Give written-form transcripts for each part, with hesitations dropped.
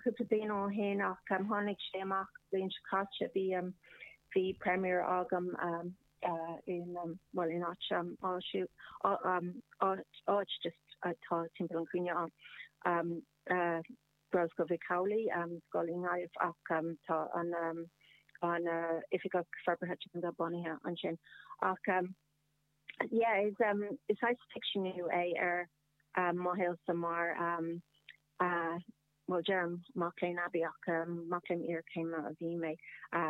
cúpla bliain ó shin ach tháinig sé amach bliain seo caite. Bhí bhí premiere agam in bhuel in áit áit just atá timpeall an chúinne ann Gaelscoil Mhic Amhlaigh, scoil i nGaillimh ach tá an an Oifigeach Forbartha Teanga bunaithe ansin. Ach yeah is is saghas ficseanú é ar mo shaolsa mar bhuel deirim mac léinn aibí ach mac léinn iarchéime a bhí mé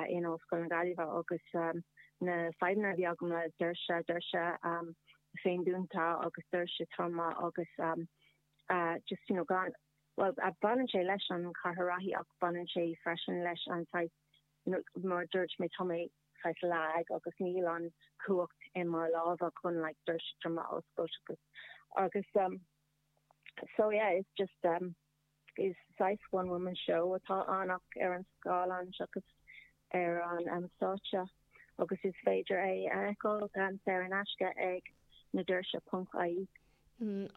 in Ollscoil na Gaillimhe agus na fadhbanna a bhí agam le doirse, doirse féindúnta agus doirse troma agus just you know gan, bhuel baineann sé leis an Chathair Reathaí ach baineann sé freisin leis an saghas you know mar a dúirt mé tá mé saghas lag agus níl an cumhacht i mo lámha chun like doirse troma a oscailt agus agus So yeah, it's just um is saghas one woman show atá ann ach ar an scáileán seachas ar an um stáitse agus is féidir é a fheiceáil um saor in aisce ag nadoirse ponc ie.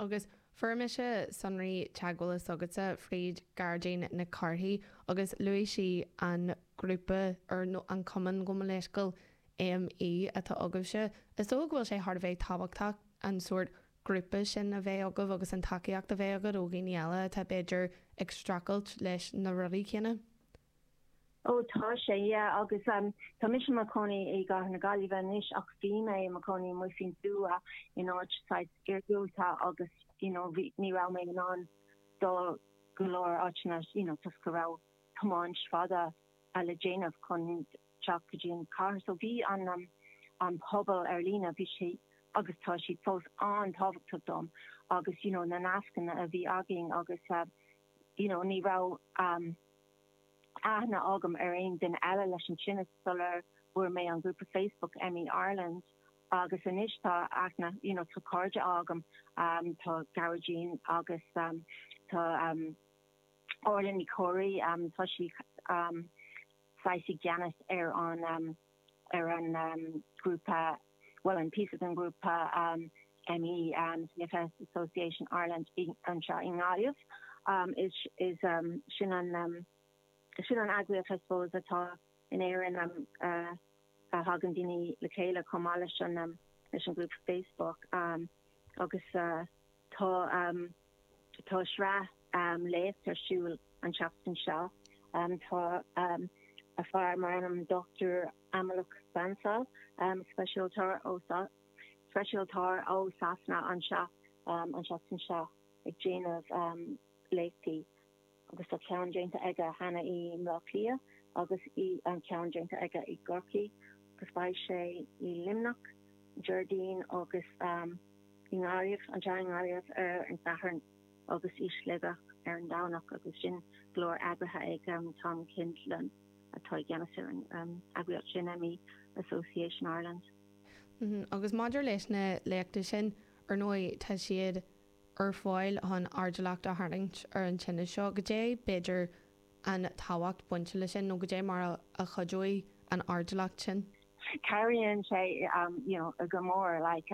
Agus fuair mise sonraí teagmhála s'agatsa fríd Gearóidín Nic Cárthaigh agus luaigh sí an grúpa ar nó an cumann gabh mo leithscéal ME atá agaibhse. Is dócha go bhfuil sé thar a bheith tábhachtach an sórt grúpa sin a bheith agaibh agus an tacaíocht a bheith agat ó dhaoine eile atá b'fhéidir ag streachailt leis na rudaí céanna? Ó tá sé, yeah, agus tá mise i mo chónaí i gCathair na Gaillimhe anois ach bhí mé i mo chónaí amuigh faoin tuath in áit saghas iargúlta agus you know bhí, ní raibh mé in ann dul go leor áiteanna you know toisc go raibh tiomáint fada le déanamh chun teacht go dtí an chathair. So bhí an an pobal ar líne, bhí sé agus tá siad fós an-tábhachtach dom agus you know na nascanna a bhí againn agus you know ní raibh aithne agam ar aon duine eile leis an tinneas sular bhfuair mé an grúpa Facebook ME Ireland agus anois tá aithne you know tá cairde agam tá Gearóidín agus tá Orla Ní Chomhraí tá sí saghas i gceannas ar an ar an grúpa, bhuel an píosa den ghrúpa ME, CFS Association Ireland anseo i nGaillimh. Is is sin an sin an eagraíocht I suppose atá in Éirinn a thagann daoine le chéile chomh maith leis an leis an ghrúpa Facebook agus tá Tá sraith léacht ar siúl an tseachtain seo. Tá fear mar ainm Dr Amolak Bansal, speisialtóir ó speisialtóir ó Sasana anseo an tseachtain seo ag déanamh léachtaí agus tá ceann déanta aige cheana i mBleá Cliath agus an ceann déanta aige i gCorcaigh agus beidh sé i Luimneach Déardaoin agus i nGaillimh, anseo i nGaillimh ar an Satharn agus i Sligeach ar an Domhnach agus sin go léir eagraithe ag Tom Kindlon atá i gceannas ar an eagraíocht sin, ME Association Ireland. Agus maidir leis na léachtaí sin, ar ndóigh tá siad ar fáil chun airdeallacht a tharraingt ar an tinneas seo. Goidé b'fhéidir an tábhacht bainte leis sin nó goidé mar a chuideoidh an airdeallacht sin? Cabhraíonn sé you know go mór like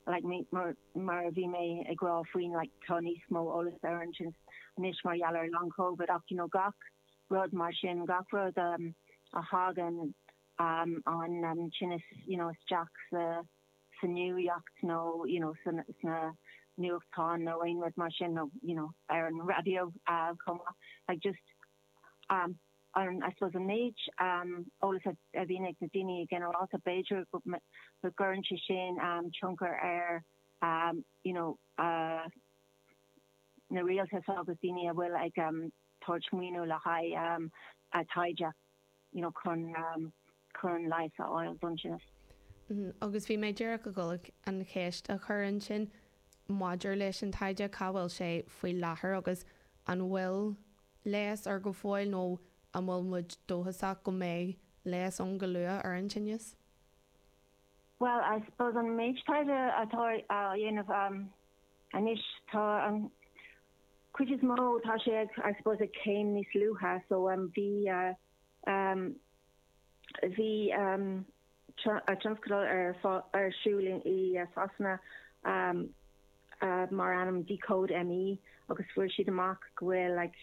like mar mar a bhí mé ag rá faoin like tá níos mó eolas ar an tinneas anois mar gheall ar long covid ach you know gach rud mar sin gach rud um, a thagann um, an um, tinneas you know isteach sa sa nuacht nó you know sna sna nuachtáin nó aon rud mar sin nó you know ar an raidió uh, chomh maith like just um, an, I suppose an méid eolas a bhíonn ag na daoine i ginearálta, b'fhéidir go gcuireann sé sin tionchar ar you know na rialtais agus daoine a bhfuil ag tabhairt maoiniú le haghaidh taighde you know chun chun leigheas a fháil don tinneas. Agus bhí mé díreach ag dul an cheist a chur ansin maidir leis an taighde, cá bhfuil sé faoi láthair agus an bhfuil leigheas air go fóill nó an bhfuil muid dóchasach go mbeidh leigheas ann go luath ar an tinneas? Bhuel, I suppose an méid taighde atá á dhéanamh anois, tá an chuid is mó, tá sé ag, I suppose, ag céim níos luaithe. So bhí, bhí tionscadal ar ar siúl i Sasana mar ainm Decode ME agus fuair siad amach go bhfuil like.